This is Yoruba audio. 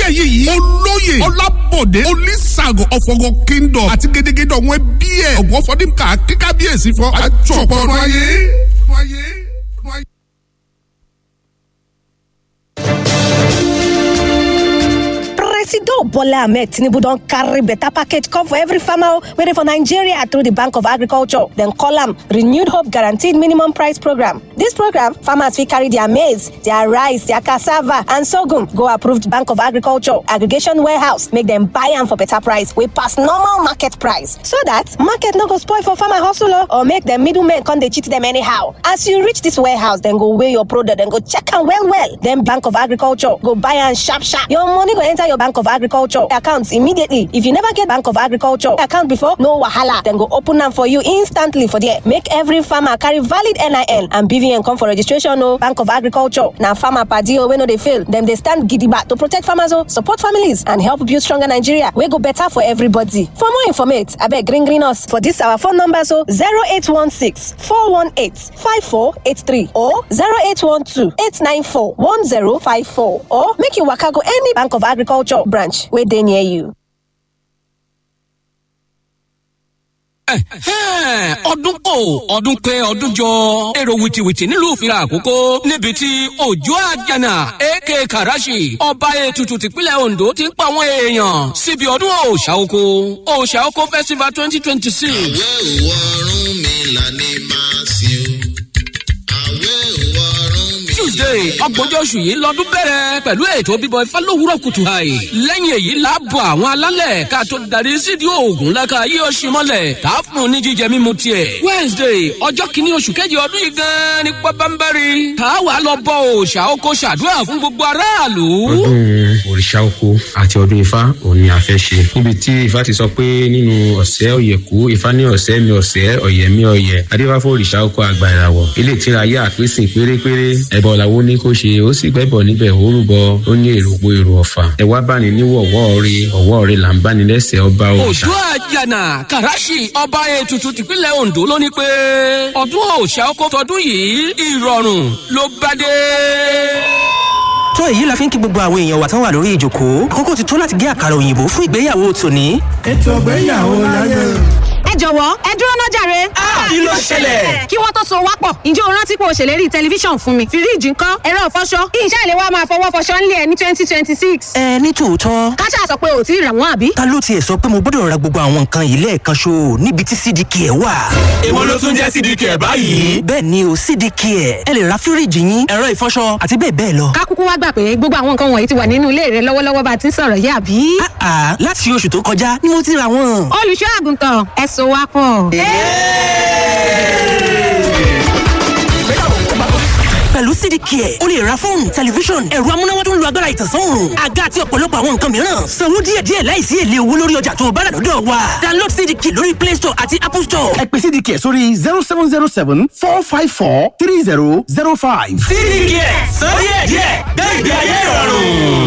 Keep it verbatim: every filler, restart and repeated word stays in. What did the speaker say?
ẹ̀yẹ yìí olóyè ọlábọ̀dé olùsàgọ̀ ọ̀fọ̀gọ̀ kingdom àti gédégédé ọ̀wọ́n ẹbí ẹ̀ ọ̀gbọ́n fọdínkà kíkábíyèsí fún àjọpọ̀ ọdún ayé. Presido Bola Ahmed Tinubu don carry better package come for every farmer wey dey for Nigeria through the Bank of Agriculture. Dem call am Renewed Hope Guaranteed Minimum Price Program. This program, farmers fit carry their maize, their rice, their cassava and sorghum go approved Bank of Agriculture aggregation warehouse make dem buy am for better price wey pass normal market price so that market no go spoil for farmer hustle o or make dem middlemen come dey cheat dem anyhow. As you reach this warehouse, dem go weigh your product, dem go check am well well. Then Bank of Agriculture go buy am sharp sharp. Your money go enter your Bank of Agriculture account immediately. If you never get Bank of Agriculture account before, no wahala. Dem go open am for you instantly for there. Make every farmer carry valid N I N and B V N come for registration o. Bank of Agriculture na farmer padi o wey no dey fail. Dem dey stand gidigba to protect farmers o, support families and help build stronger Nigeria wey go better for everybody. For more informate, abeg ring ring us for this our phone numbers o: zero eight one six four one eight five four eight three or zero eight one two eight nine four one zero five four, or make you waka go any Bank of Agriculture branch wey dey near you. Ọdún kò ọdún pé ọdún jọ, èrò wìtìwìtì nílùú ìfira àkókò níbi tí Òjò Àjànà aka Karashi, ọba ètùtù tìpínlẹ̀ Ondo, ti ń pa àwọn èèyàn síbi ọdún òòṣà oko, Òòṣà Oko Festival twenty twenty six. Àwẹ̀ òwò ọ̀run mi là ní máa sìn o. Àwẹ̀ òwò ọ̀run mi. Tuesday, ọgbọ̀njọ́ oṣù yìí lọ́dún bẹ̀rẹ̀ pẹ̀lú ètò bíbọ ifá lówùúrọ̀ kùtù àì. Lẹ́yìn èyí láàbọ̀ àwọn alálẹ̀ ká tó darí sídìí oògùn láka yíyọ ṣe mọ́lẹ̀ tá a fún un ní jíjẹ mímu tiẹ̀. Wednesday, ọjọ́ kìíní oṣù kejì ọdún yìí gan-an ní pábánbárì tá a wà lọ bọ òòṣà oko, ṣàdúrà fún gbogbo aráàlú. Ọdún òrìṣà oko àti ọdún ifá òun ni a fẹ́ ṣe, níbi tí ifá ti sọ pé nínú ọ̀sẹ̀ ọ̀yẹ̀kú, ifá ní ọ̀sẹ̀ mi ọ̀sẹ̀ ọ̀yẹ̀ mi ọ̀yẹ̀, adífáfó òrìṣà oko àgbà ìràwọ̀ ilé ìtura ayé àpèsè pérépéré ẹ̀bọ̀ làwọn ní kó ṣe, ó sì gbẹ́bọ̀ níbẹ̀, ó rúbọ, ó ní èrò po èrò ọ̀fà, ẹ wá bá ní níwọ̀wọ́ rí ọ̀wọ́ rí là ń bá ní lẹ́sẹ̀ ọba òrìṣà. Òjò Àjànà Kàràṣì, ọba ètùtù tìpínlẹ̀ Ondo, ló ní pé ọdún òòṣà oko tọdún yìí, ìrọ̀rùn ló bá dé. Tó èyí la fi ń kí gbogbo àwọn èèyàn wa tán wà lórí ìjòkó. Àkókò ti tó láti gé àkàrà òyìnbó fún ìgbéyàwó tòní. Ètò ìgbéyàwó láyé. Ẹ jọ̀wọ́, ẹ dúró ná jàre. Kí ló ṣẹlẹ̀? Kí wọ́n tó so wá pọ̀, ǹjẹ́ o rántí pé o ṣèlérí tẹlifíṣàn fún mi? Fíríìjì ńkọ́? Ẹ̀rọ ìfọṣọ? Iṣẹ́ ìléwá máa fọwọ́ fọṣọ ńlẹ̀ ní twenty twenty six. Ẹ ní tòótọ́. Káṣá sọ pé ò tí ì rà wọ́n, àbí? Ta ló tiẹ̀ sọ pé mo gbọ́dọ̀ ra gbogbo àwọn nǹkan yìí lẹ́ẹ̀kan ṣo níbi tí C D K ẹ̀ wà? Èwo ló tún jẹ́ C D K ẹ̀ báyìí? Bẹ́ẹ̀ ni o, C D K ẹ̀. Ẹ lè ra fíríìjì yín, ẹ̀rọ ìfọṣọ àti bẹ́ẹ̀ bẹ́ẹ̀ lọ. Ká kúkú wá gbà pé gbogbo àwọn nǹkan wọ̀nyí ti wà nínú ilé rẹ lọ́wọ́lọ́wọ́ bá a ti ń sọ̀rọ̀ yìí, àbí? Àà, láti oṣù tó kọjá ni mo ti ra wọn. Olùṣọ́ àgùntàn, ẹ so wá pọ̀. Pẹ̀lú C D K ẹ̀, o lè ra fóònù, tẹlifíṣọ̀n, ẹ̀rọ amúnáwá tó ń lo agbára ìtànsán òòrùn, àga àti ọ̀pọ̀lọpọ̀ àwọn nǹkan mìíràn. Sanwó díẹ̀díẹ̀ láìsí èlé owó lórí ọjà tó o bá rà lọ́dọ̀ wa. Download C D K lórí Play Store àti Apple Store. Ẹ pè C D K sórí zero seven zero seven four five four three zero zero five. C D K, sọ díẹ̀ díẹ̀, gbé ìgbé ayé ìrọ̀rùn.